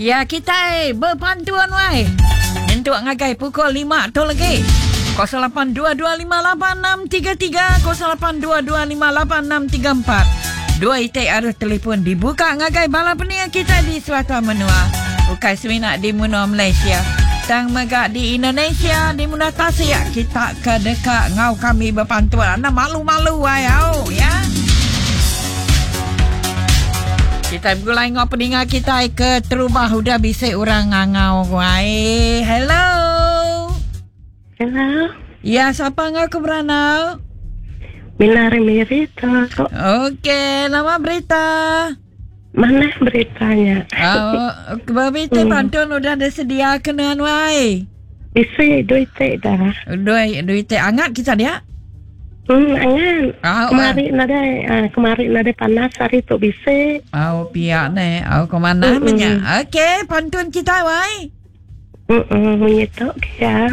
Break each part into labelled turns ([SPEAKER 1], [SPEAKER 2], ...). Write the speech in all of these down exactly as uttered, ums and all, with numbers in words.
[SPEAKER 1] Ya kita berpantuan wai. Nyentuk ngagai pukul lima tu lagi. kosong lapan dua dua lima lapan enam tiga tiga kosong lapan dua dua lima lapan enam tiga empat. Dua itik arus telefon dibuka ngagai bala penia kita di Selatan Menua. Bukan semina di Menua Malaysia. Tang mega di Indonesia, di Menua Tasik kita ke dekat ngau kami berpantuan. Anda malu-malu ai au ya. Kita bergulai ngau peninga kita ke terubah udah bisik orang ngangau ai. Hello.
[SPEAKER 2] Hello.
[SPEAKER 1] Ya, siapa ngau ke beranau?
[SPEAKER 2] Mina Rita.
[SPEAKER 1] Okey, nama berita?
[SPEAKER 2] Mana beritanya?
[SPEAKER 1] Oh, berita hmm. Pantun udah disedia kena wai.
[SPEAKER 2] Isi duit dah.
[SPEAKER 1] Duit duit hangat kita dia?
[SPEAKER 2] Hmm, angan. Oh, kemarin uh. nada, uh, kemarin nada panas hari tu bisa.
[SPEAKER 1] Oh, pihak ni. Oh, ke mana mm-hmm. Banyak. Okey, pantun kita wai.
[SPEAKER 2] Hmm, menyetok ya.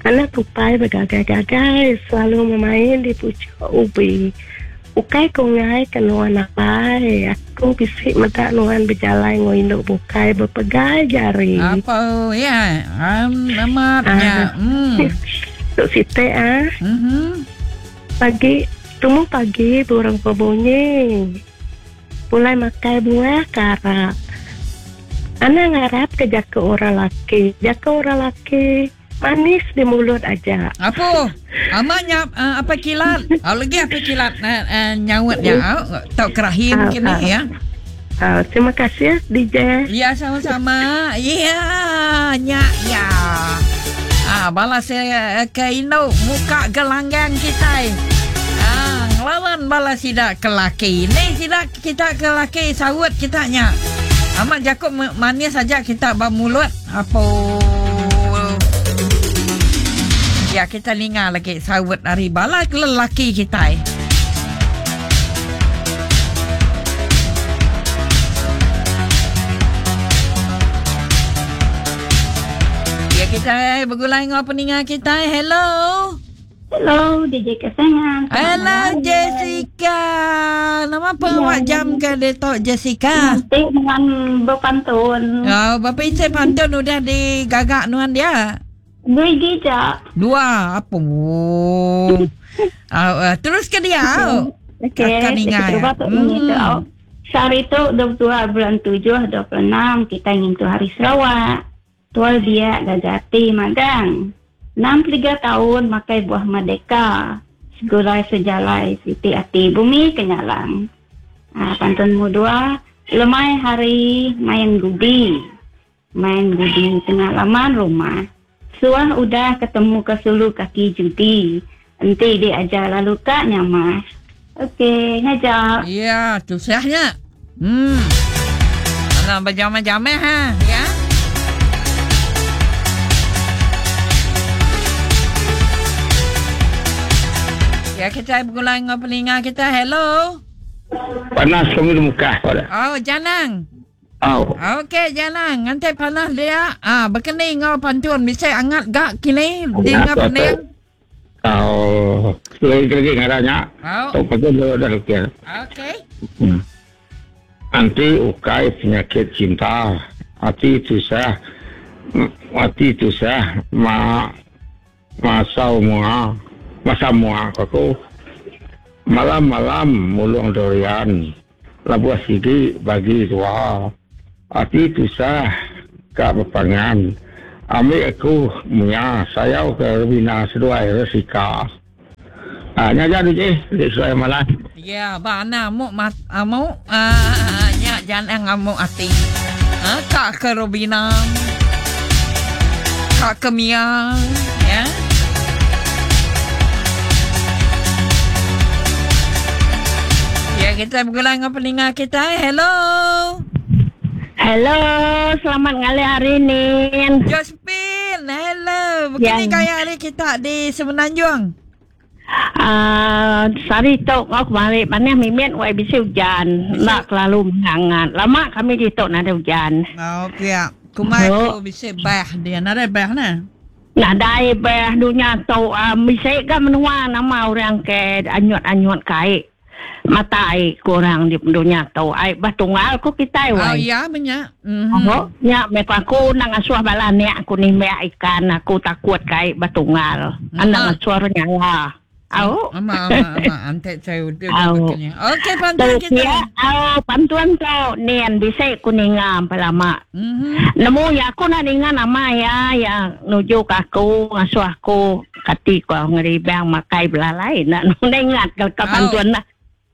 [SPEAKER 2] Anak tupai bergagai-gagai selalu memain di pucuk ubi. Ukai kungai kenuan apai. Aku bisik medak nuan berjalan ngoinduk bukai berpegai jari.
[SPEAKER 1] Apa ya? Um, amatnya. Hmm.
[SPEAKER 2] Tuk site ah.
[SPEAKER 1] Mhm.
[SPEAKER 2] Pagi, temu pagi burung berbunyi. Pulai makai buah karak. Anak ngarap ke jaka orang laki. Jaka orang laki manis di mulut aja.
[SPEAKER 1] Apa? Amaknya uh, apa kilat? Oh, lagi apa kilat uh, uh, nyawatnya? Oh, tak kerahim uh, kini uh, ya.
[SPEAKER 2] Uh, terima kasih D J.
[SPEAKER 1] Ya, sama-sama. Ya, nya ya. Ah, balas uh, ke Indo muka gelanggang kita. Ah, ngelawan balas sidak ke laki. Ni sidak kita ke laki sawut kita nya. Amat Jakob manis saja kita bermulut. Apa? Ya, kita dengar lagi sawut dari bala lelaki kita. Ya, kita bergulai dengan pendengar kita. Hello.
[SPEAKER 3] Hello, D J kesayangan.
[SPEAKER 1] Hello, Jessica. Nama apa awak ya, jam ke detok Jessica?
[SPEAKER 3] Nanti dengan berpantun.
[SPEAKER 1] Oh, bapa isi pantun udah digagak nuan dia.
[SPEAKER 3] Dua gija.
[SPEAKER 1] Dua apa? Uh, uh, terus ke dia.
[SPEAKER 3] Okey. Hmm. Sehari tu dua puluh dua bulan tujuh dua puluh enam kita ingin tu hari Sarawak. Tual dia gagati magang. enam puluh tiga tahun makai buah merdeka. Segulai sejalai siti ati bumi kenyalang. Ah, pantun mu dua, lemai hari main gudi. Main gudi tengah laman rumah. Suah udah ketemu ke sulu kaki judi. Enti dia ajar lalu kak nyamah. Okey, ngajak.
[SPEAKER 1] Ya, tu sahnya. Hmm. Alah berjamah-jamah ha, ya. Ya, kita bergulai dengan peninga kita. Hello.
[SPEAKER 4] Panas kami di muka pada.
[SPEAKER 1] Oh, janang.
[SPEAKER 4] Oh.
[SPEAKER 1] Okey, jalan. Nanti panas dia. Ah, berkeni ngau pantun bisa angat gak kini dengar pening.
[SPEAKER 4] Oh, lagi-lagi ngaranya.
[SPEAKER 1] Oh.
[SPEAKER 4] Tok pantun dah dah okey.
[SPEAKER 1] Okey.
[SPEAKER 4] Hmm. Anti ukai penyakit cinta. Hati tusah. Hati tusah ma masa mua. Masa mua aku. Malam-malam mulung durian. Labuh sigi bagi dua. Hati tusah kak berpangan. Ambil aku munya sayau ke Rubina seduai resika. Ah, nya jadi je, dek seduai malam.
[SPEAKER 1] Ya, ba ana amuk mat amuk ah nya jangan amuk hati. Ha, kak ke Rubina. Kak ke Mia, ya. Ya, kita bergulai dengan pendengar kita. Hello.
[SPEAKER 2] Hello, selamat ngalih hari ni.
[SPEAKER 1] Josephine, hello. Begini ya. Gaya hari kita di Semenanjung.
[SPEAKER 2] Ah, uh, sehari tu kau kemarin mana mimin wai bisi hujan. Nak terlalu menghangat. Lama kami di tok nada hujan.
[SPEAKER 1] Oh, pihak. Kumai tu bisi bah dia. Nada bah nah.
[SPEAKER 2] Nadai bah dunia tu uh, bisi ke menua nama orang ke anyut-anyut kai.
[SPEAKER 5] Mata ai kurang di dunia tu. Ai batunggal ku kita
[SPEAKER 1] Oh
[SPEAKER 5] wai.
[SPEAKER 1] ya banyak. Mhm.
[SPEAKER 5] Oh, nya me aku nang asuh bala ni aku nimbak ikan aku takut kai batunggal. Anang asuh nyala. Au.
[SPEAKER 1] Ama ama ama antek saya udah
[SPEAKER 5] Au.
[SPEAKER 1] Okey pantun
[SPEAKER 5] Tu
[SPEAKER 1] kita.
[SPEAKER 5] ya, au pantun tu nian bisa ku ninga lama.
[SPEAKER 1] Mhm.
[SPEAKER 5] Nemu ya aku nak ninga nama ya ya nuju ke aku ngasuh aku kati ko ngeribang makai belalai nak nu ingat ke, ke
[SPEAKER 1] Au.
[SPEAKER 5] pantun lah.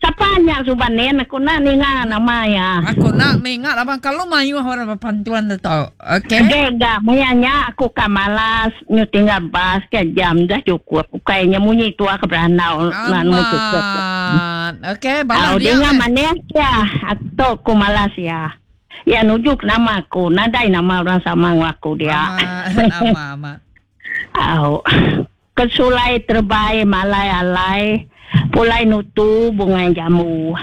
[SPEAKER 5] Siapa nya suban nian aku nak ninga nama ya.
[SPEAKER 1] Aku nak mengingat abang kalau mayu orang berpantuan tu tau. Okey.
[SPEAKER 5] Okay. Gak, mayanya aku ka malas, nyu tinggal bas ke jam dah cukup. Kayaknya munyi tua ke beranau, nak nemu cukup.
[SPEAKER 1] Amat. Okey, balas
[SPEAKER 5] Au
[SPEAKER 1] dia.
[SPEAKER 5] dengar
[SPEAKER 1] meh.
[SPEAKER 5] mana ya, atau aku malas ya. Ya nujuk nama aku, nadai nama orang sama dengan aku dia.
[SPEAKER 1] Amat, amat, amat.
[SPEAKER 5] Au. Kesulai terbaik malai alai, pulai nutu bunga jamu.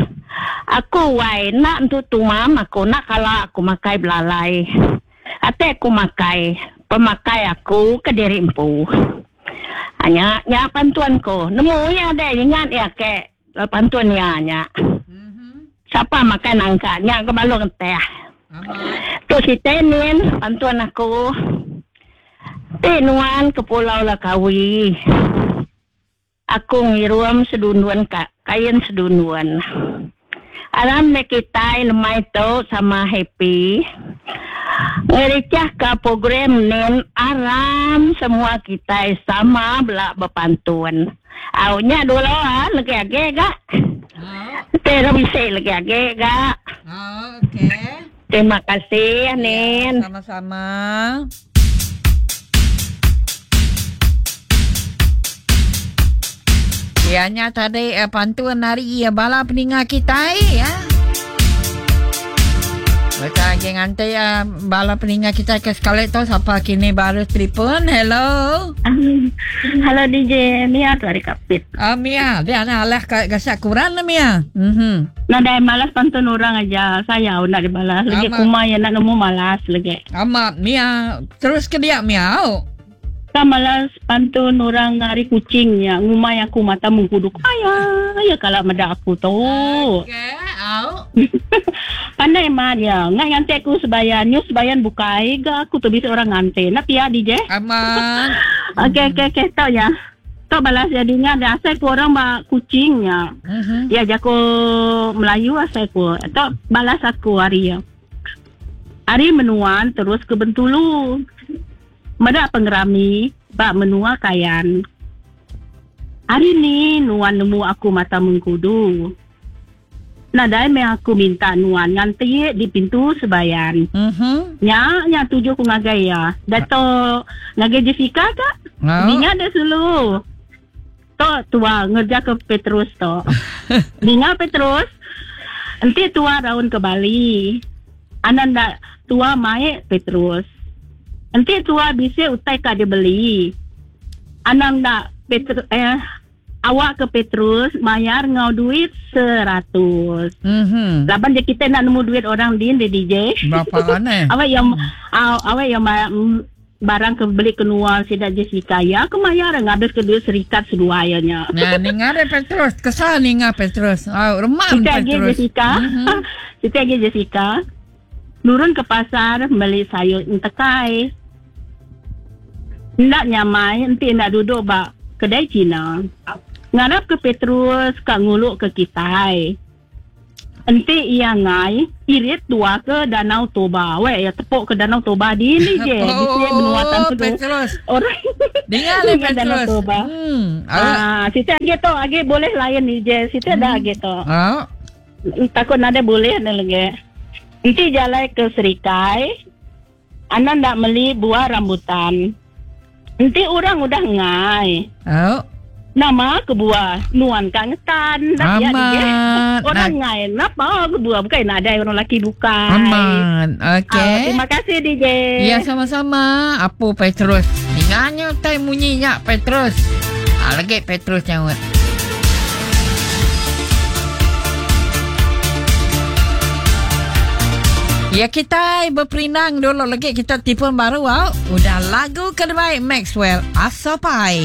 [SPEAKER 5] Aku wai nak tutu mam aku nak kalau aku makai belalai. Ate aku makai, pemakai aku ke diri empu. Hanya nya pantuan ko. Nemu ya deh ingat ya ke pantun ya nya.
[SPEAKER 1] Mhm.
[SPEAKER 5] Siapa makan nangka nya ke balong teh.
[SPEAKER 1] Amat.
[SPEAKER 5] Tu si Tenin, pantuan aku. Ti nuan ke Pulau Lakawi. Aku ngirum sedunduan ka, kain sedunduan. Alam me kita lemai tu sama happy. Ngericah ke program nen aram semua kita sama belak berpantun. Aunya dulu ah lagi age gak.
[SPEAKER 1] Oh,
[SPEAKER 5] Tera bisa lagi age gak.
[SPEAKER 1] oh, okey.
[SPEAKER 5] Terima kasih Nen.
[SPEAKER 1] Sama-sama. Ianya tadi eh, pantun hari ya bala peninga kita ya. Betul lagi nganti ya bala peninga kita ke sekali tu siapa kini baru telefon. Hello.
[SPEAKER 3] Halo D J Mia tu hari kapit.
[SPEAKER 1] Ah Mia, dia nak alah ka gasak kurang lah Mia. Mhm.
[SPEAKER 3] Nadai malas pantun orang aja. Saya nak dibalas. Lagi
[SPEAKER 1] Amat.
[SPEAKER 3] kuma ya nak nemu malas lagi.
[SPEAKER 1] Amat Mia, terus ke dia Mia. Oh.
[SPEAKER 3] Ka malas pantun orang hari kucingnya. Ngumai aku mata mengkuduk. Ayah, ya kalau meda aku tu.
[SPEAKER 1] Okey, au.
[SPEAKER 3] Pandai mah dia. Nggak nganti aku sebayan. Nyu sebayan bukai. Ga aku tu bisa orang nganti. Nak pia D J?
[SPEAKER 1] Aman.
[SPEAKER 3] Okey, okey, okey. Tahu ya. Tahu balas jadinya. Ada asal ku orang bak kucingnya.
[SPEAKER 1] Mhm.
[SPEAKER 3] Ya, jago Melayu asal ku. Atau balas aku hari ya. Hari menuan terus ke Bentulu. Medak pengerami, bak menua kayan. Hari ni nuan nemu aku mata mengkudu. Nadai me aku minta nuan nganti di pintu sebayan.
[SPEAKER 1] Mhm.
[SPEAKER 3] Nya, nya tuju ku ngagai ya. Dato ngagai Jessica kak?
[SPEAKER 1] Au.
[SPEAKER 3] Binga dah sulu. Tok tua ngerja ke Petrus tok. Binga Petrus. Enti tua raun ke Bali. Anan dak tua mae Petrus. Enti tua bisa utai ka dia beli. Anang dak Petrus eh awak ke Petrus mayar ngau duit seratus.
[SPEAKER 1] Mhm.
[SPEAKER 3] Laban je kita nak nemu duit orang din di D J.
[SPEAKER 1] Berapa kan eh?
[SPEAKER 3] Awak yang aw, awak yang ma- mm, barang ke beli keluar sidak Jessica ya aku mayar ngabis ke duit serikat seduanya.
[SPEAKER 1] Nah, ninga ada Petrus. Kesal ninga Petrus. Oh, remam
[SPEAKER 3] Kita lagi
[SPEAKER 1] Petrus.
[SPEAKER 3] Jessica.
[SPEAKER 1] Mhm.
[SPEAKER 3] Kita lagi Jessica. Nurun ke pasar beli sayur entekai. Ndak nyamai, enti ndak duduk bak kedai Cina. Ngarap ke Petrus kak nguluk ke kitai. Enti ia ngai, irit tua ke Danau Toba. Weh, ya tepuk ke Danau Toba di ni je. Di sini benua
[SPEAKER 1] Oh,
[SPEAKER 3] tantu.
[SPEAKER 1] Petrus.
[SPEAKER 3] Orang
[SPEAKER 1] Dengar le
[SPEAKER 3] Dengar Danau
[SPEAKER 1] Petrus.
[SPEAKER 3] Toba.
[SPEAKER 1] Hmm. Ah.
[SPEAKER 3] Ah, situ lagi tu, lagi boleh lain ni je. Situ ada lagi tu.
[SPEAKER 1] Oh.
[SPEAKER 3] Takut nada boleh ada lagi. Nanti jalan ke Serikai. Anak nak beli buah rambutan. Nanti orang udah ngai.
[SPEAKER 1] Oh.
[SPEAKER 3] Nama ke buah nuan kang ngetan. Nak ya,
[SPEAKER 1] Amat.
[SPEAKER 3] dia. Orang
[SPEAKER 1] Nak-
[SPEAKER 3] ngai. Napa ke buah bukan nak ada orang lelaki bukan.
[SPEAKER 1] Aman.
[SPEAKER 3] Ah,
[SPEAKER 1] Okey.
[SPEAKER 3] terima kasih D J.
[SPEAKER 1] Ya sama-sama. Apa Petrus? Dengarnya tai bunyinya Petrus. Ah lagi Petrus nyawa. Ya kita berperinang dulu lagi kita telefon baru au. Udah lagu kedua Maxwell Asopai.